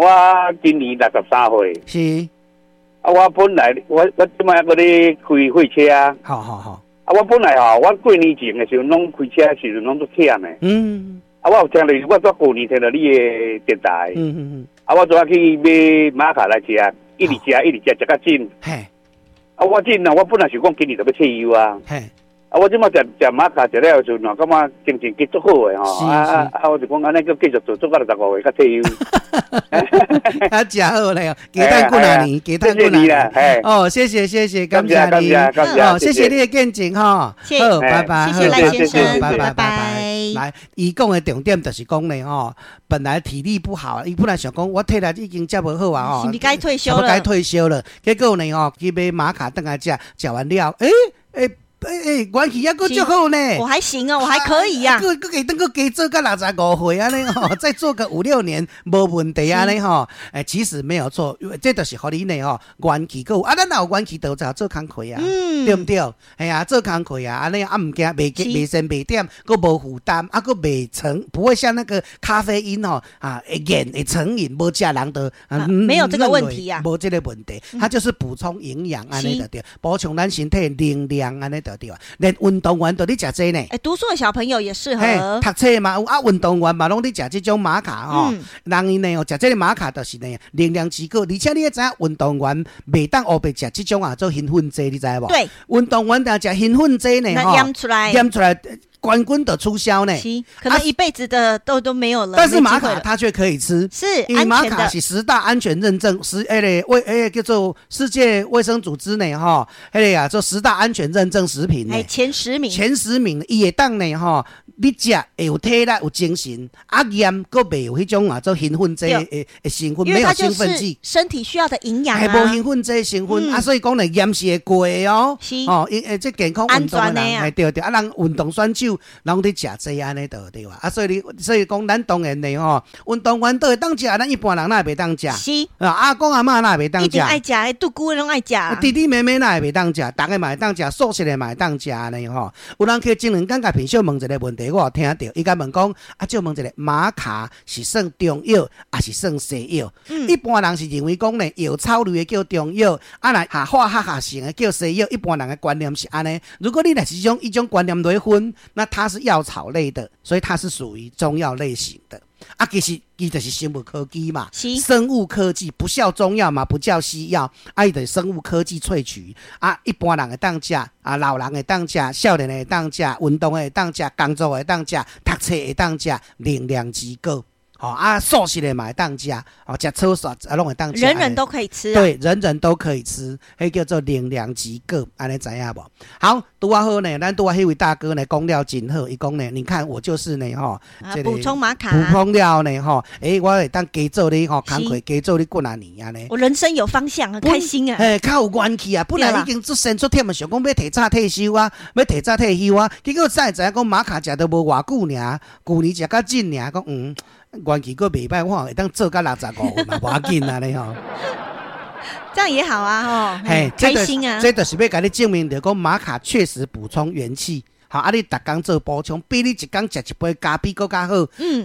我今年63歲。啊，我本來我這擺閣咧開貨車。好好好。啊，我本來吼，我過年前的時陣攏開車的時陣攏足忝的。啊，我有聽著，我煞舊年聽著你的電台。啊，我昨仔去買瑪卡來食，一直食一直食，食甲盡。啊，我盡啊，我本來想講今年就欲退休啊。啊！我這擺食食瑪卡食了時陣，感覺精神繼續好的吼。啊啊啊！我就講按呢閣繼續做做到65歲才退休。啊，誠好咧，加等幾若年，加等幾若年。哦，謝謝謝謝，感謝你。哦，謝謝你的見證吼。好，拜拜。謝謝賴先生，拜拜拜拜。來，伊講的重點就是講呢吼，本來體力不好，伊本來想講我體力已經遮無好啊吼，是毋是該退休了？該退休了。結果呢吼，去買瑪卡轉來食，食完了，欸欸。欸欸，元氣猶閣足好呢！我還行啊，我還可以呀。閣閣加轉閣加做到65歲按呢吼，再做個五六年無問題按呢吼。欸，其實沒有錯，這就是予你呢吼，元氣閣有啊，咱若有元氣，就做工課啊，對毋對？係啊，做工課啊，按呢啊毋驚袂袂身袂忝，閣無負擔，啊閣袂成，不會像那個咖啡因吼啊會癮會成癮，無食人就沒有這個問題啊，無這個問題，它就是補充營養按呢就對，補充咱身體能量按呢就對啊。連運動員都咧食這呢。欸，讀書的小朋友也適合。讀冊嘛有啊，運動員嘛攏咧食這種瑪卡吼。人𪜶呢哦，食這個瑪卡就是呢能量之高，而且你會知影運動員袂當烏白食這種啊做興奮劑，你知無？對。運動員若食興奮劑呢吼，驗出來，驗出來冠軍就取消呢。是，可能一輩子的都沒有了。但是瑪卡它卻可以吃，是。因為瑪卡是十大安全認證，十彼个衛欸叫做世界衛生組織呢吼，彼個啊做十大安全認證食品呢，前10名，前10名，伊會當呢吼，你食會有體力有精神，啊驗閣袂有彼種啊做興奮劑的成分，沒有興奮劑，身體需要的營養啊，無興奮劑成分啊，所以講呢驗是會過的哦，哦，伊欸這健康運動的人，對對，啊人運動選手攏佇食這按呢就對啊，啊所以你所以講咱當然的吼，運動員都會當食，咱一般人哪會袂當食？是啊，阿公阿嬤哪會袂當食？一定愛食，獨孤攏愛食。弟弟妹妹哪會袂當食？逐个嘛會當食，素食的嘛會當食按呢吼。有人去前兩工共品秀問一個問題，我有聽著，伊共問講，啊，借問一下，瑪卡是算中藥抑是算西藥？一般人是認為講呢，藥草類的叫中藥，啊若下化學合成的叫西藥。一般人的觀念是按呢。如果你若是種一種觀念來分，那它是藥草類的，所以它是屬於中藥類型的。啊，其實伊就是生物科技嘛，生物科技不叫中藥嘛，不叫西藥，啊，伊就是生物科技萃取。啊，一般人會當食，啊，老人會當食，少年會當食，運動的會當食，工作的會當食，讀冊會當食，能量之高。吼啊，素食的嘛會當食，哦，食草素啊攏會當食。人人都可以吃。對，人人都可以吃，彼叫做能量之高，按呢知影無？好，拄仔好呢，咱拄仔彼位大哥呢講了真好，伊講呢，你看我就是呢，吼，補充瑪卡，補充了呢，吼，欸，我會當加做你吼，工課加做你幾若年按呢。我人生有方向，很開心啊。嘿，較有元氣啊！本來已經出身出忝的，想講欲提早退休啊，欲提早退休啊，結果才會知影講瑪卡食都無偌久爾，舊年食較緊爾，講嗯。元氣閣袂歹，我會當做到65歲嘛，無要緊按呢吼。這樣也好啊，吼，嘿，開心啊！這就是欲共你證明著講瑪卡確實補充元氣，好啊！你逐工做補充，比你一工食一杯咖啡閣較好。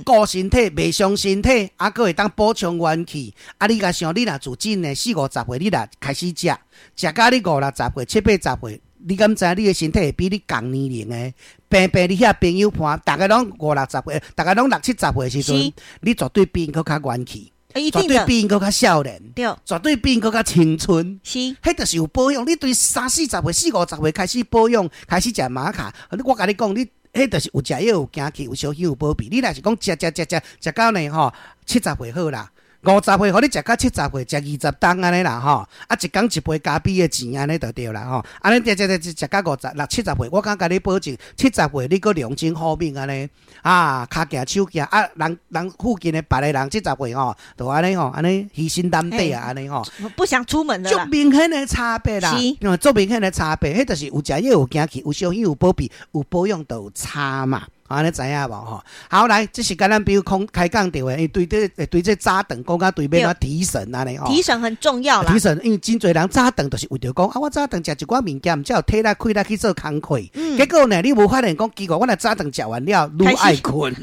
顧身體，袂傷身體，啊，閣會當補充元氣。啊，你共想，你若自真的四五十歲，你若開始食，食到你五六十歲、七八十歲，你敢知你的身體會比你仝年齡的？平平你遐朋友伴，逐个攏五六十歲，逐个攏六七十歲時陣，你絕對比𪜶閣較元氣，絕對比𪜶閣較少年，絕對比𪜶閣較青春。彼就是有保養。你對三四十歲、四五十歲開始保養，開始食瑪卡，我共你講，你彼就是有食藥有行氣，有小可有保庇。你若是講食食食食食到呢吼，七十歲好啦。50歲，予你食到70歲，食20冬按呢啦吼，啊一工一杯咖啡的錢按呢就對啦吼，按呢食食食食到五十六七十歲，我敢共你保證，七十歲你閣龍精虎猛按呢，啊，跤行手行，啊，人人附近的別个人七十歲吼，就按呢吼，按呢虛心擔底啊，按呢吼，不想出門了。足明顯的差別啦，足明顯的差別，彼就是有食藥有行氣，有小可有保庇，有保養就有差嘛。按呢知影無吼？好來，這是共咱比如講開講著的，因為對這對這早頓講甲對欲按怎提神按呢吼。提神很重要啦。提神，因為真濟人早頓就是為著講啊，我早頓食一寡物件，才有體力氣力去做工課。結果呢，你無發現講奇怪，我若早頓食完了，愈愛睏。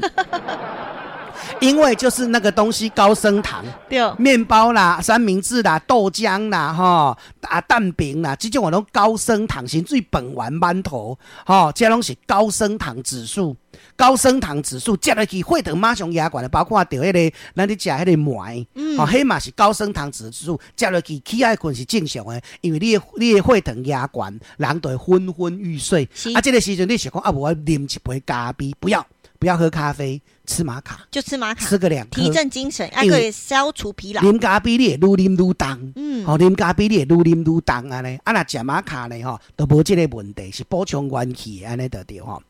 因為就是那個東西高升糖，麵包啦、三明治啦、豆漿啦、吼啊蛋餅啦，這種攏高升糖，甚至飯圓饅頭，吼，這攏是高升糖指數。高升糖指數食落去，血糖馬上壓懸的，包括著彼個咱咧食彼個糜，吼，彼嘛是高升糖指數，食落去起愛睏是正常的，因為你的血糖壓懸，人就會昏昏欲睡。啊，這個時陣你想講啊，無我啉一杯咖啡，不要不要喝咖啡，吃瑪卡，就吃瑪卡，吃個兩顆，提振精神，還可以消除疲勞。啉咖啡你會愈啉愈重，吼，啉咖啡你會愈啉愈重按呢，啊，若食瑪卡呢，吼，就無這個問題，是補充元氣的按呢就對吼。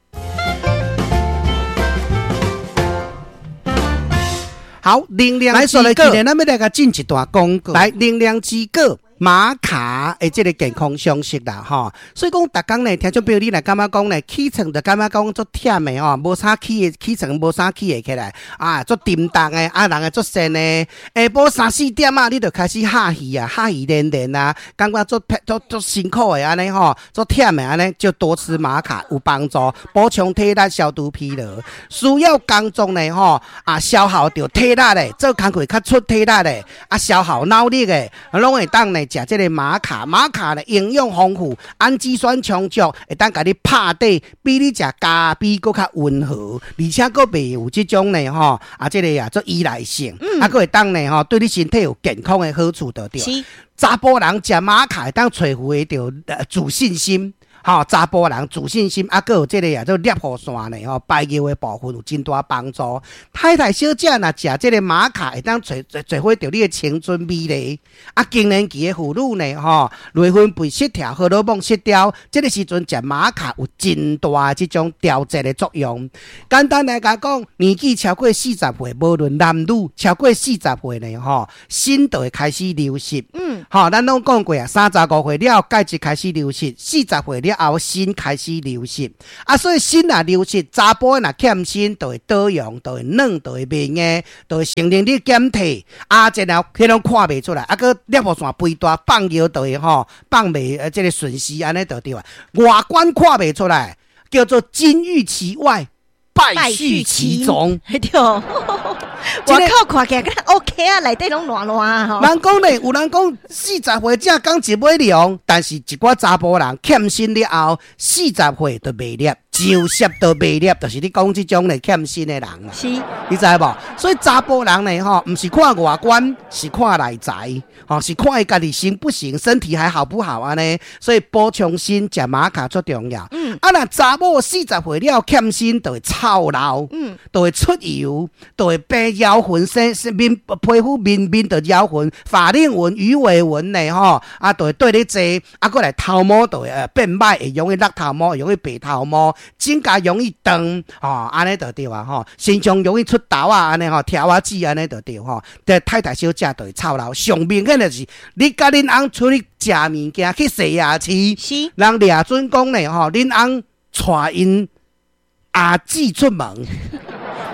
好，能量來說咧，今日咱欲來共進一段廣告。來，能量之果瑪卡的這個健康常識啦，吼。所以講，逐工呢，聽眾朋友你若感覺講呢，起床就感覺講足忝的吼，無啥起的，起床無啥起會起來，啊，足沉重的，啊，人會足瀟的。下晡三四點啊，你就開始哈氣啊，哈氣連連啊，感覺足足足辛苦的按呢吼，足忝的按呢，就多吃瑪卡有幫助，補充體力，消除疲勞。需要工作呢吼，啊，消耗著體力的，做工課較出體力的，啊，消耗腦力的，攏會當呢食這個瑪卡。瑪卡呢營養豐富，氨基酸充足，會當共你拍底，比你食咖啡閣較溫和，而且閣袂有這種呢吼，啊，這個啊做依賴性，啊，閣會當呢吼，對你身體有健康的好處就對。查埔人食瑪卡會當找回著自信心。吼，查埔人自信心，啊，閣有這個啊，做攝護腺呢，吼，排尿的部分有真大幫助。太太小姐若食這個瑪卡，會當找找回著你的青春美麗。啊，更年期的婦女呢，吼，內分泌失調、荷爾蒙失調，這個時陣食瑪卡有真大的這種調節的作用。簡單來講，年紀超過40歲，無論男女，超過40歲呢，吼，鋅就會開始流失。吼，咱攏講過啊，35歲了後，鈣質開始流失，40歲了後，鋅開始流失。啊，所以鋅若流失，查埔若欠鋅，就會倒用，就會軟，就會袂硬，就會性能力減退。啊，然後彼攏看袂出來，啊，閣攝護腺肥大，放尿就會吼放袂這個順時按呢就對啊。外觀看袂出來，叫做金玉其外，敗絮其中。對，外口看起來敢 OK 啊，內底攏爛爛啊。人講咧，有人講40歲才講一尾龍，但是一寡查埔人欠鋅了後，40歲就袂攝，就攝都袂攝，就是你講這種咧欠鋅的人啦。是，你知無？所以查埔人呢，吼，毋是看外觀，是看內在，吼，是看伊家己行不行，身體還好不好按呢。所以補充鋅、食瑪卡足重要。啊，若查某40歲了欠鋅，就會臭老，就會出油，就會變腰痕，生面皮膚面面就腰痕、法令紋、魚尾紋呢，吼，啊，就會對咧濟，啊，閣來頭毛就會變歹，會容易落頭毛，容易白頭毛。指甲容易斷，吼，按呢就對啊，吼，身上容易出痘啊，按呢吼，條仔子按呢就對吼。這太太小姐就會臭老，上明顯的是，你佮恁翁出去食物件去西亞市，人掠準講呢，吼，恁翁帶𪜶阿姊出門，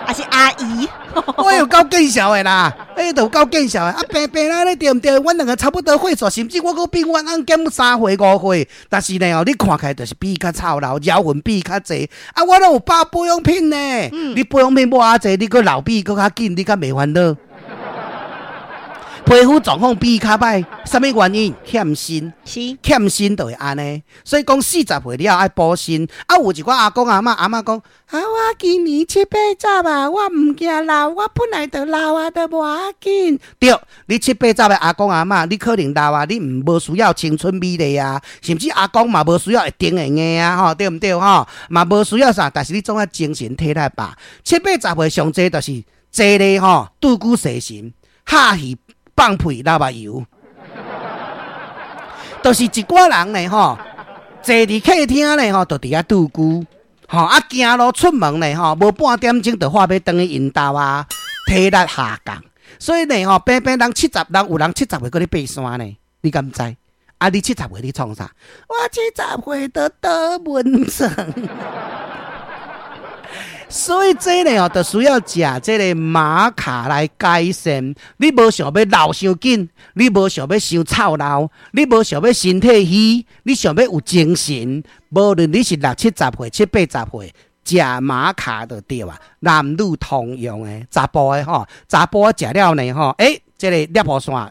還是阿姨？我有夠見笑的啦，欸，都有夠見笑的。啊，平平啦，你對毋對？阮兩個差不多歲數，甚至我閣比阮翁減3歲5歲，但是呢，哦，你看起來就是比伊較臭老，腰紋比伊較濟。啊，我攏有包保養品呢，你保養品抹較濟，你閣老比伊閣較緊，你較袂煩惱。皮膚狀況比伊較歹，啥物原因？欠鋅，欠鋅就會按呢。所以講40歲了愛補鋅。啊，有一寡阿公阿嬤，阿嬤講啊，我今年七八十啊，我毋驚老，我本來就老啊，都無要緊。對，你七八十的阿公阿嬤，你可能老啊，你毋無需要青春美麗啊，甚至阿公嘛無需要會頂會硬啊，吼，對毋對？吼，嘛無需要啥，但是你總愛精神體力吧。七八十歲上濟就是坐咧吼，拄久踅神，哈氣。放屁流目油，就是一寡人呢吼，坐佇客廳呢吼，就佇遐拄久，吼啊行路出門呢吼，無半點鐘就話欲轉去𪜶兜啊，體力下降，所以呢吼，平平人70，人有人70歲閣咧爬山呢，你敢知？啊，你70歲你創啥？我70歲都倒溫床。所以這呢哦，就需要食這個瑪卡來改善。你無想欲老傷緊，你無想欲傷臭老，你無想欲身體虛，你想欲有精神。無論你是六七十歲、七八十歲，食瑪卡就對啊，男女通用的，查埔的吼，查埔食了呢吼，欸，這個尿布線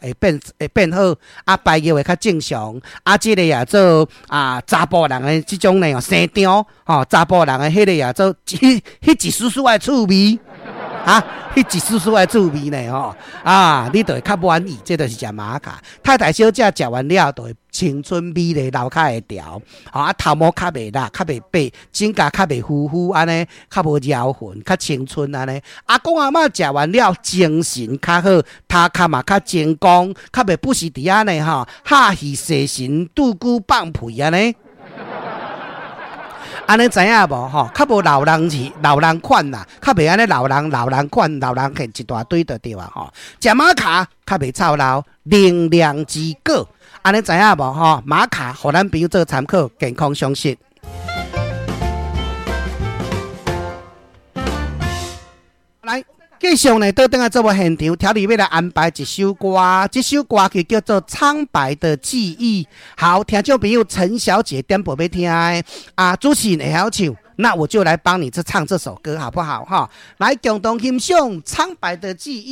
會變好，啊排尿會較正常，啊這个也做啊查埔人的這種呢生長吼，查埔人的彼个也做彼一絲絲的趣味，啊，彼一絲絲的趣味呢吼，啊，你就會較滿意，這就是食瑪卡。太太小姐食完了，就會青春美麗流較會調，啊頭毛較袂落，較袂白，指甲較袂糊糊按呢，較無搖痕，較青春按呢。阿公阿嬤食完了，精神較好，頭殼嘛較精光，較袂不時佇遐呢吼，哈氣細神，拄久放屁按呢。按呢知影無吼？較無老人去老人款啦，較袂按呢老人老人款老人現一大堆就對啊吼。食瑪卡較袂臭老，能量之果。按呢知影無吼？瑪卡予咱朋友做參考，健康常識。來，繼續呢，倒轉來節目現場，調理欲來安排一首歌，這首歌曲叫做《蒼白的記憶》。好，聽眾朋友陳小姐點播欲聽的，啊，主持人會曉唱，那我就來幫你這唱這首歌，好不好？哈，來共同欣賞《蒼白的記憶》。